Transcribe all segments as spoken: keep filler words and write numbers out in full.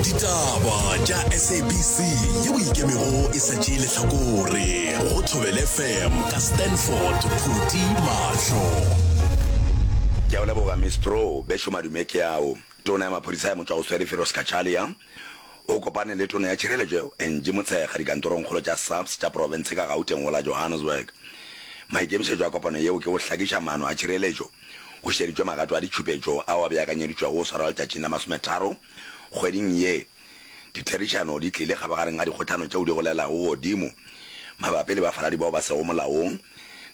Ditaba tša S A B C yeo ikemego e sa tšee lehlakore go Thobela F M ka Stanford Phuti Mahlo. Ke a o leboga, Miss Pro. Bešo madume ke ao. Tona ya maphodisa ya motšwagoswere Firoz Cachalia o kopane le Tona ya Tšhireletšo Angie Motshekga dikantorongkgolo tša SAPS tša profense ka Gauteng go la Johannesburg. Maikemišetšo a kopano yeo ke go hlakiša maano a tšhireletšo go šeditšwe magato a ditšhupetšo ao a beakanyeditšwego go swarwa letšatšing la masometharo kgweding ye. Ditherišano di tlile kgabagareng ga dikgohlano tšeo di golelago godimo mabapi le bafaladi bao ba sego molaong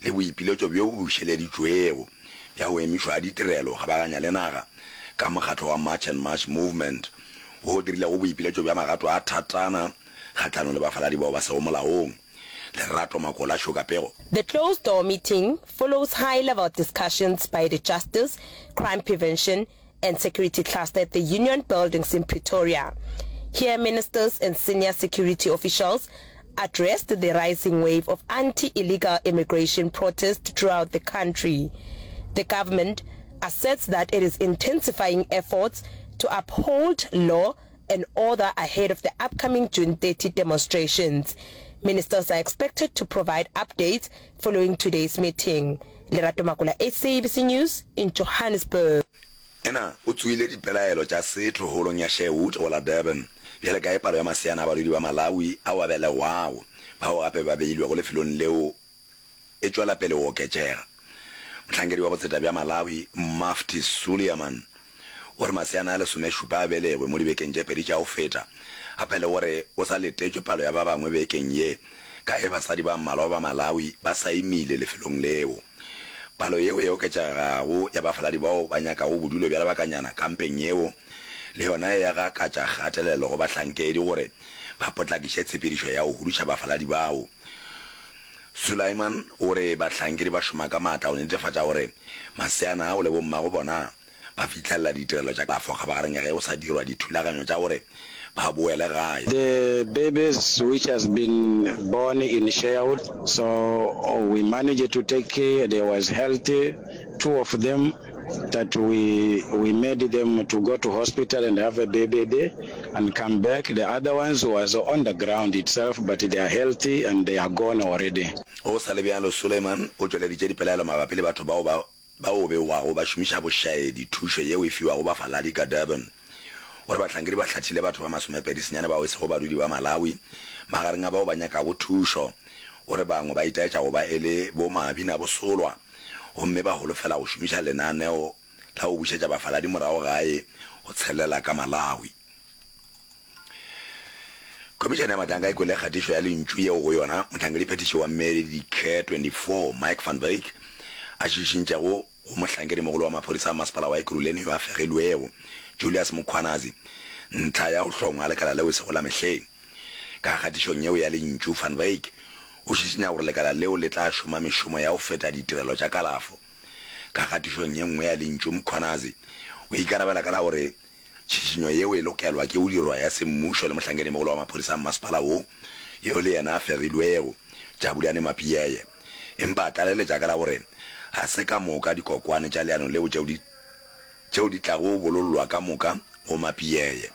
le boipiletšo bjo bo bušeleditšwego bja go emišwa ga ditirelo kgabaganya le naga ka mokgatlo wa March and March Movement wo o dirilego boipiletšo bja magato a thatana kgahlanong le bafaladi bao ba sego molaong. Lerato Makola šo ka pego. The closed-door meeting follows high-level discussions by the Justice, Crime Prevention and Security Cluster at the Union Buildings in Pretoria. Here, ministers and senior security officials addressed the rising wave of anti-illegal immigration protests throughout the country. The government asserts that it is intensifying efforts to uphold law and order ahead of the upcoming June thirty demonstrations. Ministers are expected to provide updates following today's meeting. Lerato Makola, S A B C News in Johannesburg. Yena o tsoile dipelaelo tša setho holong ya Sherwood go la Durban. Bjale ka ge palo ya maseana a badudi ba Malawi ao a belegwago, bao gape ba beilwego lefelong leo e tšwela pele go oketšega. Mohlankedi wa botseta bja Malawi, Mufti Suleman, o re maseana a lesomešupa a belegwe mo dibekeng tše pedi tša go feta, gape le gore o sa letetšwe palo ya ba bangwe bekeng ye ka ge basadi ba mmalwa ba Malawi ba sa imile lefelong leo. Palo yeo e oketšegago ya bafaladi bao ba nyakago bodulo bja lebakanyana kampeng yeo le yona e gakatša kgatelelo go bahlankedi gore ba potlakiše tshepedišo ya go huduša bafaladi bao. Sulaiman o re bahlankedi ba šoma ka maatla go netefatša gore maseana ao le bommago bona ba fihlelela ditirelo tša kalafo kgabagareng ya ge go sa dirwa dithulaganyo tša gore ba boele gae. The babies which has been born in Sherwood, so we managed to take care, they was healthy, two of them that we we made them to go to hospital and have a baby there and come back, the other ones was on the ground itself but they are healthy and they are gone already. Go sa le bjalo, Suleiman o tšweleditše dipelaelo mabapi le batho bao ba bao begwago ba šomiša bošaedi thušo yeo e fiwago bafaladi ka Durban. O re bahlankedi ba hlathile batho ba masomepedi senyane bao e sego badudi ba Malawi magareng a bao ba nyakago thušo. O re bangwe ba itaetša go ba e le bo mabinabosolwa gomme ba holofela go šomiša lenaneo la go bušetša bafaladi morago gae go tshelela ka Malawi. Khomišene ya Matlanka e kwele kgatišo ya lentšu yeo go yona mohlankedi-phethiši wa Medicare twenty four Mike van Wyk a šišintšego go mohlankedimogolo wa maphodisa a masepala wa Ekurhuleni yo a fegilwego, Julius Mkhwanazi, ntlha ya go hlongwa lekala leo e sego la mehleng. Ka kgatišong yeo ya lentšu, Van Wyk o šišinya gore lekala leo le tla šoma mešomo ya go feta ditirelo tša kalafo. Ka kgatišong ye nngwe ya lentšu, Mkhwanazi o ikarabela ka la gore tšhišinyo yeo e lokelwa ke go dirwa ya semmušo le mohlankedimogolo wa maphodisa a mmasepala wo, yo le yena a fegilwego, Jabulani Mapiyeye. Empa a tlaleletša ka la gore ga se ka moka dikokwane tša leano leo tšeo di tšeo di tlago bolollwa ka moka go Mapiyeye.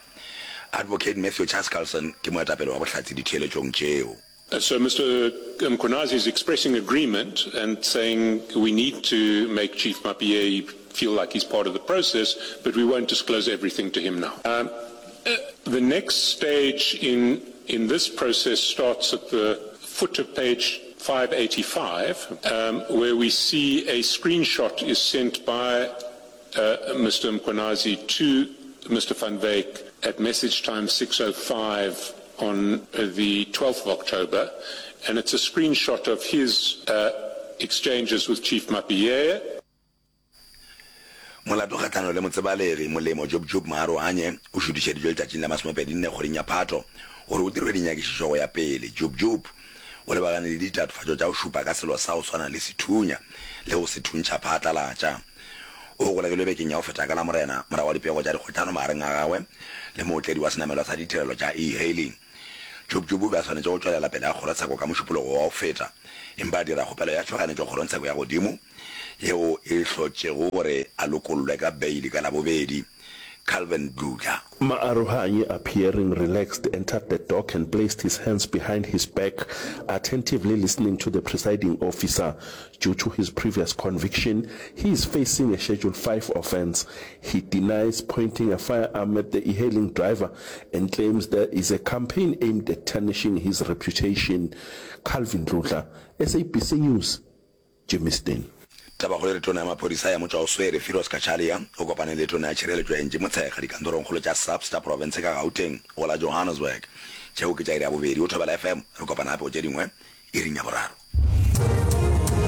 Advocate Matthew Chaskalson ke moetapele wa bohlatse ditheeletšong tšeo. So Mister Mkhwanazi is expressing agreement and saying we need to make Chief Mapiyeye feel like he's part of the process, but we won't disclose everything to him now. Um, the next stage in, in this process starts at the foot of page five eighty-five, um, where we see a screenshot is sent by uh, Mister Mkhwanazi to Mister Van Wyk at message time six oh five on the twelfth of October, and it's a screenshot of his uh, exchanges with Chief Mapiyeye. Molato kgahlano le motsebalegi Molemo Jub Jub Maarohanye o šutišeditšwe letšatšing la masomepedi nne kgweding ya Phato gore o dirwe dinyakišišo go ya pele. Jub Jub o lebagane le ditatofatšo tša go šupa ka selo sa go swana le sethunya le go se thuntšha phatlalatša. O golegilwe bekeng ya go feta ka Lamorena morago ga dipego tša dikgohlano magareng a gagwe le mootledi wa senamelwa sa ditirelo tša e-hailing. Jub Jub o be a swanetše go tšwelela pele ga kgorotsheko ka Mošupologo wa go feta, empa a dira kgopelo ya tšhoganetšo kgorongtsheko ya godimo yeo e hlotšego gore a lokollwe ka beili ka Labobedi. Calvin Dludla. Maarohanye, appearing relaxed, entered the dock and placed his hands behind his back, attentively listening to the presiding officer. Due to his previous conviction, he is facing a Schedule five offence. He denies pointing a firearm at the e-hailing driver and claims there is a campaign aimed at tarnishing his reputation. Calvin Dludla, S A B C News, Germiston. Tabakgolo e re Tona ya Maphodisa ya Motšwaoswere, Firoz Cachalia, o kopane le Tona ya Tšhireletšo Angie Motshekga dikantorongkgolo tša SAPS tša profense ka Gauteng go la Johannesburg. Tšeo ke tša iri ya bobedi go Thobela F M. Re kopana gape go tše dingwe iring ya boraro.